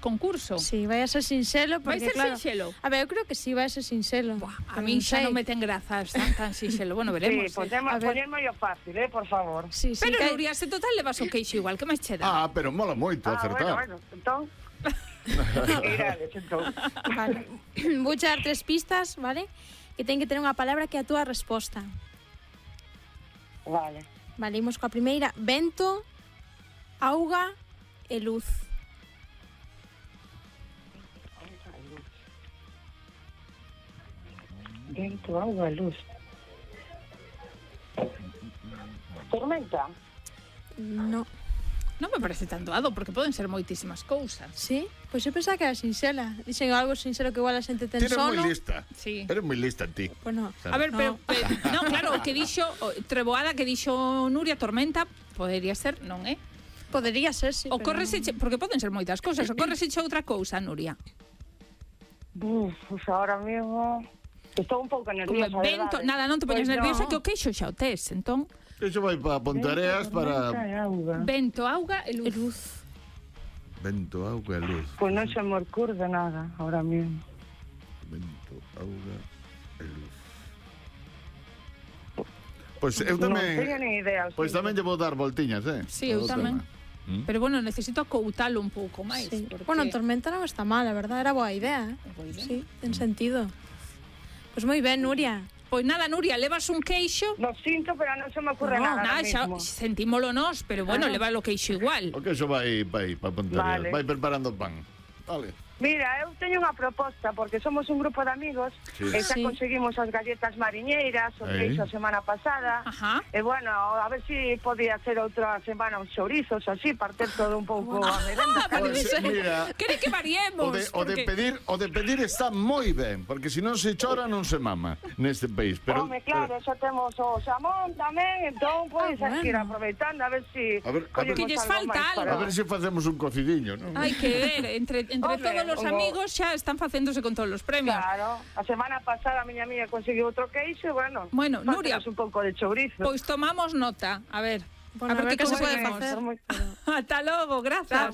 concurso. Sí, vai a ser sinxelo. Vai ser sinxelo? A ver, eu creo que sí, vai a ser sinxelo. A mí xa non me ten grazas tan sinxelo. Bueno, veremos. Sí, poñerme yo fácil, por favor. Sí, pero Nuria, se total levas o queixo igual, que máis che dá? Pero mola moito acertar. Bueno, entón... Irades, entón. Vale. Vou dar 3 pistas, vale? Que ten que ter unha palabra que é a túa resposta. Vale. Vale, imos coa primeira. Vento, auga e luz. Vento, auga e luz. Tormenta? No. Non me parece tan doado, porque poden ser moitísimas cousas. Sí? Pois eu pensaba que era sinxela. Dixen algo sinxelo que igual a xente ten sono. Eres moi lista. Sí. Eres moi lista ti. Pois no. A ver, pero non, claro, o que dixo Treboada, que dixo Nuria, tormenta, podería ser, non é? Podería ser, sí. Ocorreseche, porque poden ser moitas cousas. Ocorreseche outra cousa, Nuria? Pues ahora mismo... Estou un pouco nerviosa, vento, nada, non te poñas nerviosa, que o queixo xa o tes, entón... Eso vai para Pontareas para... Vento, auga e luz. Vento, auga e luz. Pois non se me ocurre nada ahora mismo. Vento, auga e luz. Pois eu tamén... Non teño ni idea. Pois tamén lle vou dar voltiñas, Sí, eu tamén. Pero bueno, necesito acoutalo un pouco máis. Sí. Porque... Bueno, tormenta non está mal, a verdade, era boa idea, Boa idea. Sí, ten sentido. Pois moi ben, Nuria. Pois nada, Nuria, levas un queixo. Lo sinto, pero non se me ocurre nada xa sentímolo nós, pero bueno, leva o queixo igual. O queixo vai para Pontareas, vai preparando pan. Vale. Mira, eu teño unha proposta, porque somos un grupo de amigos, e xa conseguimos as galletas mariñeiras, o queixo a semana pasada, e bueno, a ver se podía ser outra semana uns chourizos, así, partir todo un pouco a merenda. Mira, quere que variemos. O de pedir está moi ben, porque se non se chora non se mama neste país. Pero, Home, claro, xa temos o xamón tamén, entón, pois, hai que ir aproveitando, a ver se... Que lles falta algo. A ver se facemos un cocidiño, non? Hai que ver, entre todos os amigos xa están facéndose con todos os premios. Claro, a semana pasada a miña amiga conseguiu outro queixo, bueno, Nuria, un pouco de chourizo. Pois tomamos nota, a ver. Bueno, a ver que se pode facer. Hasta logo, grazas.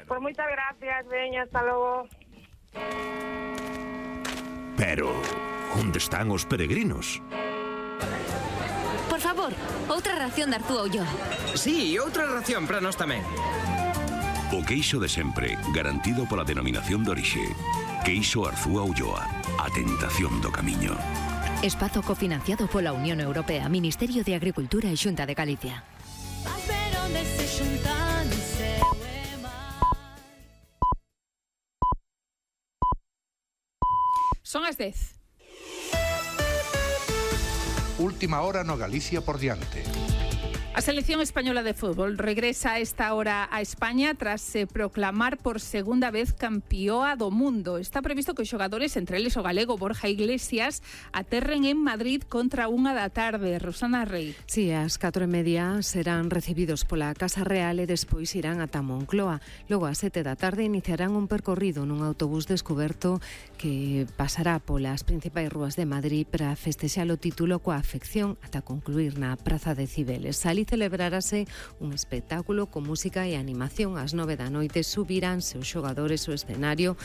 Por moitas gracias, veña, hasta logo. Pero, onde están os peregrinos? Por favor, outra ración de Artúa Ulloa. Sí, outra ración para nós tamén. O queixo de sempre, garantido pola denominación de orixe. Queixo Arzúa Ulloa, a tentación do camiño. Espazo cofinanciado pola Unión Europea, Ministerio de Agricultura e Xunta de Galicia. Son as 10. Última hora no Galicia por diante. A selección española de fútbol regresa a esta hora a España tras proclamar por segunda vez campioa do mundo. Está previsto que os xogadores, entre eles o galego Borja Iglesias, aterren en Madrid contra 1 da tarde. Rosana Rey. Sí, ás 4:30 serán recibidos pola Casa Real e despois irán ata Moncloa. Logo ás 7 da tarde iniciarán un percorrido nun autobús descoberto que pasará polas principais rúas de Madrid para festexar o título coa afección ata concluir na Praza de Cibeles. Celebrarase un espectáculo con música e animación. Ás 9 da noite subiránse os xogadores ao escenario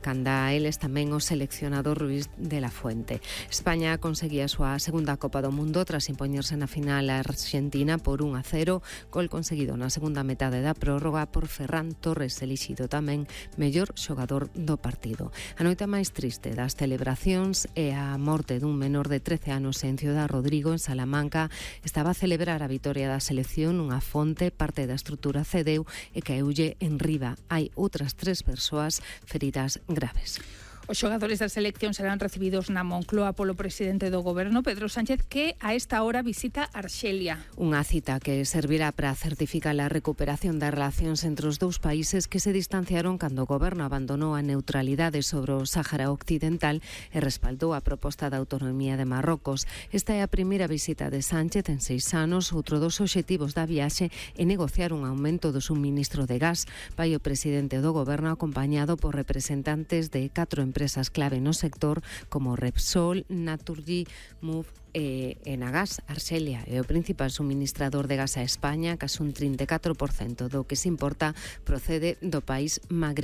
canda eles tamén o seleccionador Ruiz de la Fuente. España conseguía a súa segunda Copa do Mundo tras impoñerse na final a Argentina por 1-0, gol conseguido na segunda metade da prórroga por Ferran Torres, elixido tamén mellor xogador do partido. A noite máis triste das celebracións é a morte dun menor de 13 anos en Ciudad Rodrigo, en Salamanca. Estaba a celebrar a vitoria da selección nunha fonte, parte da estrutura cedeu e caeulle en riba. Hai outras 3 persoas feridas graves. Os xogadores da selección serán recibidos na Moncloa polo presidente do goberno, Pedro Sánchez, que a esta hora visita Arxelia. Unha cita que servirá para certificar a recuperación das relacións entre os dous países que se distanciaron cando o goberno abandonou a neutralidade sobre o Sáhara Occidental e respaldou a proposta de autonomía de Marrocos. Esta é a primeira visita de Sánchez en 6 anos. Outro dos obxectivos da viaxe é negociar un aumento do suministro de gas. Vai o presidente do goberno acompañado por representantes de 4 empresas clave no sector como Repsol, Naturgy, Move e Enagas. Arxelia é o principal suministrador de gas a España, case un 34% do que se importa procede do país magrebí.